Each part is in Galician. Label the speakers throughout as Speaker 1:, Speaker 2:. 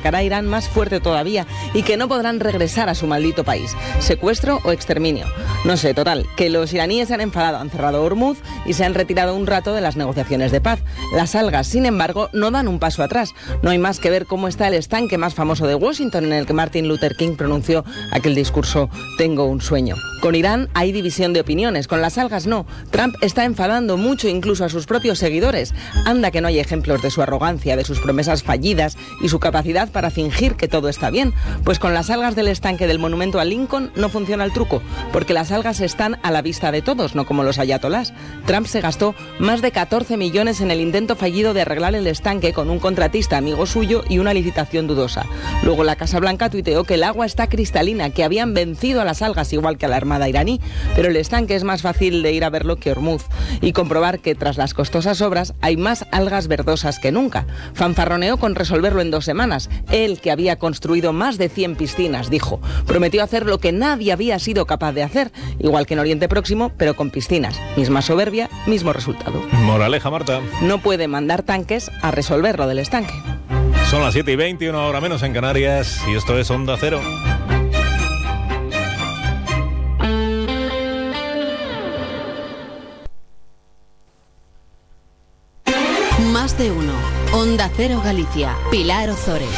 Speaker 1: atacará a Irán más fuerte todavía y que no podrán regresar a su maldito país. ¿Secuestro o exterminio? No sé, total, que los iraníes se han enfadado, han cerrado Hormuz y se han retirado un rato de las negociaciones de paz. Las algas, sin embargo, no dan un paso atrás. No hay más que ver cómo está el estanque más famoso de Washington, en el que Martin Luther King pronunció aquel discurso "Tengo un sueño". Con Irán hay división de opiniones, con las algas no. Trump está enfadando mucho incluso a sus propios seguidores. Anda que no hay ejemplos de su arrogancia, de sus promesas fallidas y su capacidad para fingir que todo está bien. Pues con las algas del estanque del monumento a Lincoln no funciona el truco, porque las algas están a la vista de todos, no como los ayatolás. Trump se gastó más de 14 millones en el intento fallido de arreglar el estanque con un contratista amigo suyo y una licitación dudosa. Luego la Casa Blanca tuiteó que el agua está cristalina, que habían vencido a las algas igual que a la armada iraní, pero el estanque es más fácil de ir a verlo que Hormuz y comprobar que tras las costosas obras hay más algas verdosas que nunca. Fanfarroneó con resolverlo en 2 semanas. Él, que había construido más de 100 piscinas, dijo, prometió hacer lo que nadie había sido capaz de hacer, igual que en Oriente Próximo, pero con piscinas. Misma soberbia, mismo resultado.
Speaker 2: Moraleja, Marta.
Speaker 1: No puede mandar tanques a resolver lo del estanque.
Speaker 2: Son las 7:20, una hora menos en Canarias, y esto es Onda Cero.
Speaker 3: Más de uno. Onda Cero Galicia. Pilar Ozores.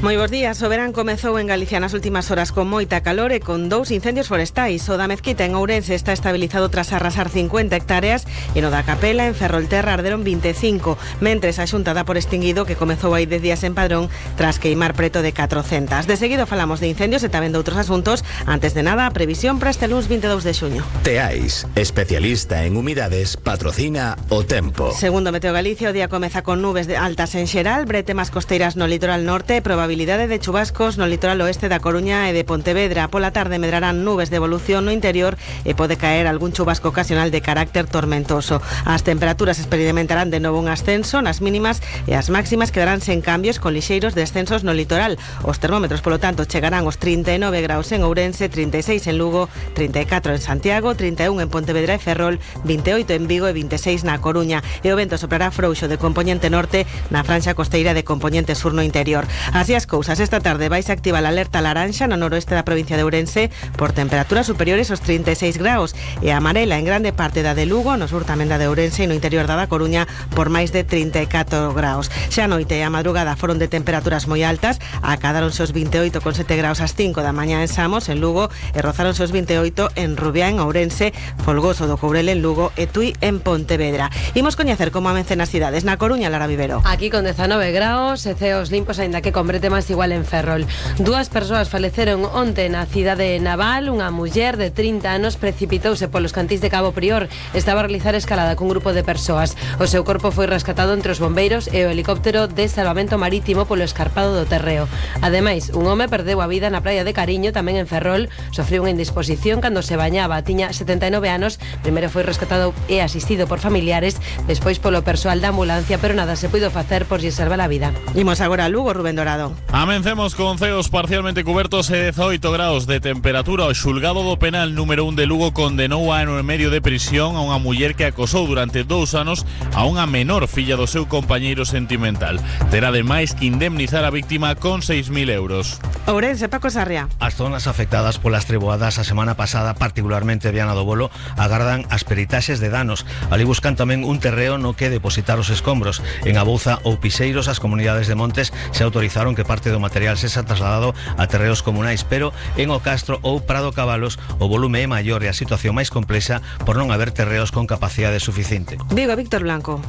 Speaker 1: Moi bons días. O verán comezou en Galicia nas últimas horas con moita calor e con 2 incendios forestais. O da Mezquita en Ourense está estabilizado tras arrasar 50 hectáreas e no da Capela en Ferrolterra arderon 25, mentres a Xunta dá por extinguido que comezou hai 10 días en Padrón tras queimar preto de 400. De seguido falamos de incendios e tamén de outros asuntos. Antes de nada, a previsión para este luns 22 de xuño.
Speaker 4: Teais, especialista en humidades, patrocina o tempo.
Speaker 1: Segundo Meteo Galicia, o día comeza con nubes altas en xeral, bretemas costeiras no litoral norte, probabilidade de chubascos no litoral oeste da Coruña e de Pontevedra. Pola tarde medrarán nubes de evolución no interior e pode caer algún chubasco ocasional de carácter tormentoso. As temperaturas experimentarán de novo un ascenso nas mínimas e as máximas quedarán sen cambios con lixeiros descensos no litoral. Os termómetros, polo tanto, chegarán aos 39 graus en Ourense, 36 en Lugo, 34 en Santiago, 31 en Pontevedra e Ferrol, 28 en Vigo e 26 na Coruña. E o vento soprará frouxo de compoñente norte na franxa costeira de compoñente sur no interior. Así as cousas, esta tarde vais a activar a alerta laranxa no noroeste da provincia de Ourense por temperaturas superiores aos 36 graus e a amarela en grande parte da de Lugo, no sur tamén da de Ourense e no interior da Coruña por máis de 34 graus. Xa a noite e a madrugada foron de temperaturas moi altas, acadáronse os 28,7 graus ás 5 da mañá en Samos, en Lugo, e rozáronse os 28 en Rubiá, en Ourense, Folgoso do Courel en Lugo e Tui en Pontevedra. Imos coñecer como amencen as cidades. Na Coruña, Lara Vivero.
Speaker 5: Aquí con 19 graus e ceos limpos, aínda que con brete máis igual en Ferrol. 2 persoas faleceron onte na cidade naval. Unha muller de 30 anos precipitouse polos cantís de Cabo Prior. Estaba a realizar escalada cun grupo de persoas. O seu corpo foi rescatado entre os bombeiros e o helicóptero de salvamento marítimo polo escarpado do Terreo. Ademais, un home perdeu a vida na praia de Cariño, tamén en Ferrol. Sofriu unha indisposición cando se bañaba. Tiña 79 anos. Primeiro foi rescatado e asistido por familiares, despois polo persoal da ambulancia, pero nada se puido facer por lle salvar a vida.
Speaker 1: Imos agora a Lugo, Rubén Dorado.
Speaker 6: Amencemos con ceos parcialmente cubertos e 18 graus de temperatura. O xulgado do penal número 1 de Lugo condenou a ano e medio de prisión a unha muller que acosou durante 2 anos a unha menor filla do seu compañeiro sentimental. Terá ademais que indemnizar a víctima con 6.000 euros.
Speaker 1: Ourense, Paco Sarria.
Speaker 7: As zonas afectadas polas treboadas a semana pasada, particularmente Viana do Bolo, agardan as peritaxes de danos. Ali buscan tamén un terreo no que depositar os escombros. En Abouza ou Piseiros, as comunidades de montes se autorizaron que parte do material se xa trasladado a terreos comunais, pero en O Castro ou Prado Cabalos o volume é maior e a situación máis complexa por non haber terreos con capacidade suficiente.
Speaker 1: Vigo, Víctor Blanco.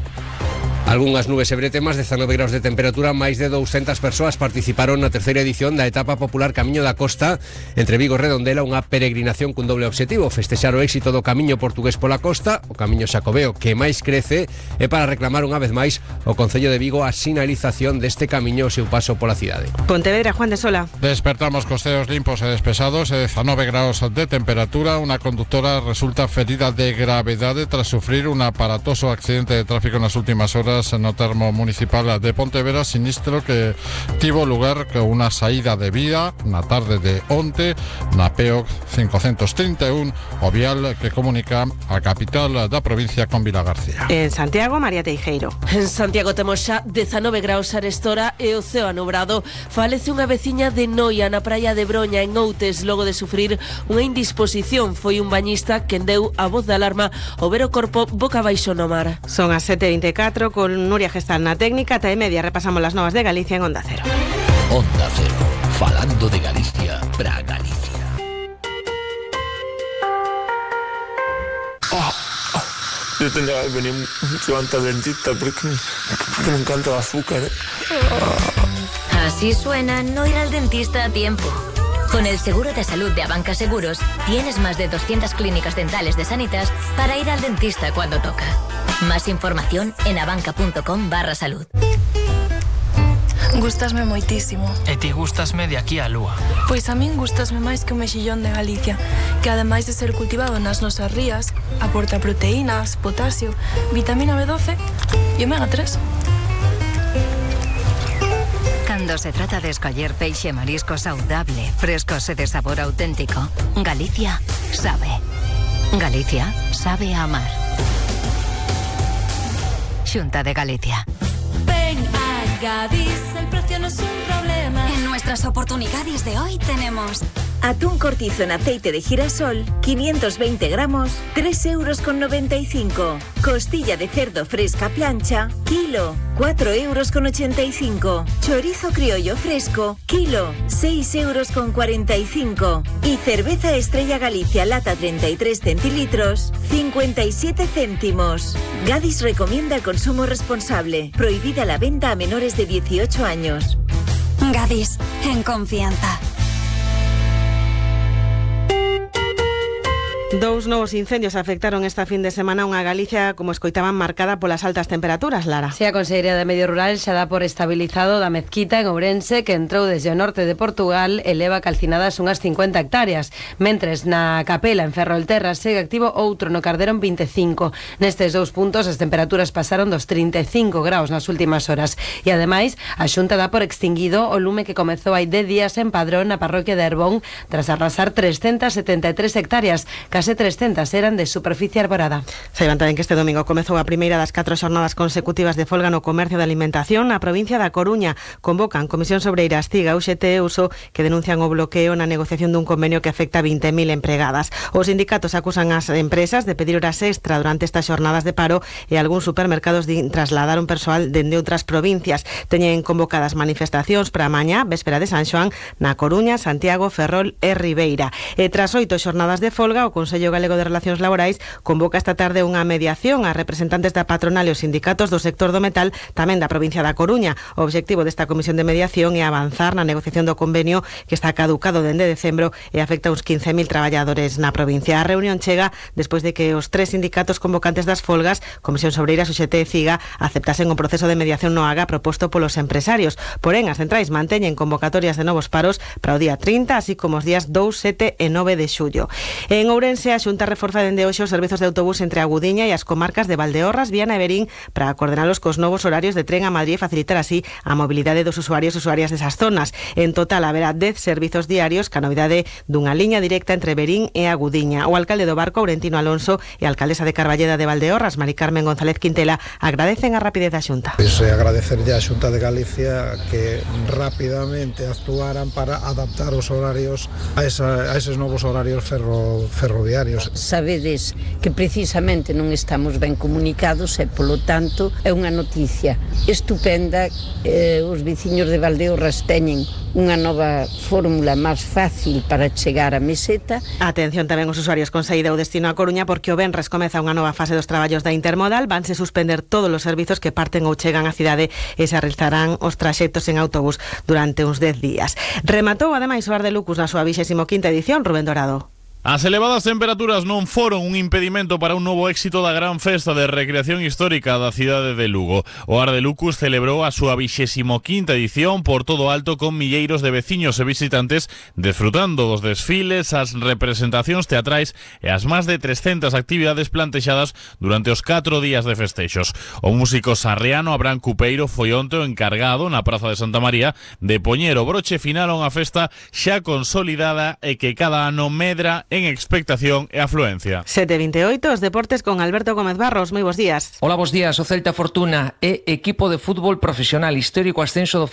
Speaker 8: Algunhas nubes e bretemas, 19 graus de temperatura, máis de 200 persoas participaron na terceira edición da etapa popular Camiño da Costa entre Vigo e Redondela, unha peregrinación cun doble obxectivo: festexar o éxito do Camiño portugués pola costa, o Camiño Xacobeo que máis crece, e para reclamar unha vez máis o Concello de Vigo a sinalización deste camiño e o seu paso pola cidade.
Speaker 1: Pontevedra, Juan de Sola.
Speaker 9: Despertamos costeos limpos e despesados e 19 graus de temperatura. Unha conductora resulta ferida de gravedade tras sufrir un aparatoso accidente de tráfico nas últimas horas obras no termo municipal de Pontevedra, sinistro que tivo lugar con unha saída de vía na tarde de onte na PEOC 531, o vial que comunica a capital da provincia con Vilagarcía.
Speaker 10: En Santiago, María Teijeiro.
Speaker 11: En Santiago temos xa 19 graus a restora e o ceo anubrado. Falece unha veciña de Noia na praia de Broña en Outes logo de sufrir unha indisposición. Foi un bañista quen deu a voz de alarma ao ver o corpo boca abaixo no mar.
Speaker 10: Son as 7:24 con Nuria Gestal na técnica. Ata e media repasamos las novas de Galicia en Onda Cero.
Speaker 4: Onda Cero, falando de Galicia para Galicia.
Speaker 12: Yo tendría que venir mucho antes al dentista porque me encanta el azúcar.
Speaker 13: Así suena no ir al dentista a tiempo. Con el seguro de salud de Abanca Seguros tienes más de 200 clínicas dentales de Sanitas para ir al dentista cuando toca. Más información en abanca.com/salud.
Speaker 14: Gústasme moitísimo.
Speaker 15: E ti gústasme de aquí a lúa.
Speaker 14: Pois a min gústasme máis que o mexillón de Galicia, que ademais de ser cultivado nas nosas rías, aporta proteínas, potasio, vitamina B12 e omega 3.
Speaker 13: Cando se trata de escoller peixe e marisco saudable, frescos e de sabor auténtico, Galicia sabe. Galicia sabe amar. Xunta de Galicia.
Speaker 16: Ven a Gadis, el precio no es un problema.
Speaker 17: En nuestras oportunidades de hoy tenemos
Speaker 18: atún cortizo en aceite de girasol, 520 gramos, 3,95 €. Costilla de cerdo fresca plancha, kilo, 4,85 €. Chorizo criollo fresco, kilo, 6,45 €. Y cerveza Estrella Galicia lata 33 centilitros, 57 céntimos. Gadis recomienda el consumo responsable. Prohibida la venta a menores de 18 años.
Speaker 17: Gadis, en confianza.
Speaker 10: Dous novos incendios afectaron esta fin de semana unha Galicia, como escoitaban, marcada polas altas temperaturas, Lara.
Speaker 5: Si a Consellería de Medio Rural xa dá por estabilizado da Mezquita en Ourense, que entrou desde o norte de Portugal e leva calcinadas unhas 50 hectáreas. Mentres na Capela, en Ferrolterra, segue activo outro no Cardero en 25. Nestes dous puntos as temperaturas pasaron dos 35 graus nas últimas horas. E ademais, a Xunta dá por extinguido o lume que comezou hai 10 días en Padrón, na parroquia de Herbón, tras arrasar 373 hectáreas. Case 300 eran de superficie arborada.
Speaker 10: Saiban tamén que este domingo comezou a primeira das 4 xornadas consecutivas de folga no comercio de alimentación na provincia da Coruña. Convocan Comisións Obreiras, CIGA, UGT e USO, que denuncian o bloqueo na negociación dun convenio que afecta a 20.000 empregadas. Os sindicatos acusan as empresas de pedir horas extra durante estas xornadas de paro e algúns supermercados trasladaron persoal dende outras provincias. Teñen convocadas manifestacións para mañá, véspera de San Xoán, na Coruña, Santiago, Ferrol e Ribeira. E tras 8 xornadas de folga, o Consello Galego de Relacións Laborais convoca esta tarde unha mediación a representantes da patronal e os sindicatos do sector do metal, tamén da provincia da Coruña. O obxectivo desta comisión de mediación é avanzar na negociación do convenio que está caducado dende decembro e afecta uns 15.000 traballadores na provincia. A reunión chega despois de que os 3 sindicatos convocantes das folgas, Comisións Obreiras, UGT e CIGA, aceptasen o proceso de mediación no AGA proposto polos empresarios. Porén, as centrais manteñen convocatorias de novos paros para o día 30, así como os días 2, 7 e 9 de xullo. En Ourense, a Xunta reforza dende hoxe os servizos de autobús entre a Gudiña e as comarcas de Valdeorras, Viana e Verín para coordenalos cos novos horarios de tren a Madrid e facilitar así a mobilidade dos usuarios e usuarias desas zonas. En total haberá 10 servizos diarios, ca novidade dunha liña directa entre Verín e a Gudiña. O alcalde do Barco, Aurentino Alonso, e a alcaldesa de Carballeda de Valdeorras, Mari Carmen González Quintela, agradecen a rapidez da Xunta.
Speaker 19: Agradecerlle á Xunta de Galicia que rapidamente actuaran para adaptar os horarios a eses novos horarios ferroviarios.
Speaker 20: Sabedes que precisamente non estamos ben comunicados e, polo tanto, é unha noticia estupenda. Os veciños de Valdeorras teñen unha nova fórmula máis fácil para chegar á meseta.
Speaker 10: Atención tamén os usuarios con saída ou destino a Coruña, porque o venres comeza unha nova fase dos traballos da intermodal. Vanse suspender todos os servizos que parten ou chegan á cidade e se realizarán os traxectos en autobús durante uns 10 días. Rematou ademais o Ar de Lucus na súa 25ª edición, Rubén Dorado.
Speaker 6: As elevadas temperaturas non foron un impedimento para un novo éxito da gran festa de recreación histórica da cidade de Lugo. O Ar de Lucus celebrou a súa 25ª edición por todo alto con milleiros de veciños e visitantes desfrutando dos desfiles, as representacións teatrais e as máis de 300 actividades plantexadas durante os 4 días de festexos. O músico sarriano Abraham Cupeiro foi onte o encargado na Praza de Santa María de poñer o broche final a unha festa xa consolidada e que cada ano medra en expectación e afluencia.
Speaker 10: 7:28, os deportes con Alberto Gómez Barros. Moi bons días.
Speaker 21: Hola, bons días. O Celta Fortuna é equipo de fútbol profesional histórico ascenso do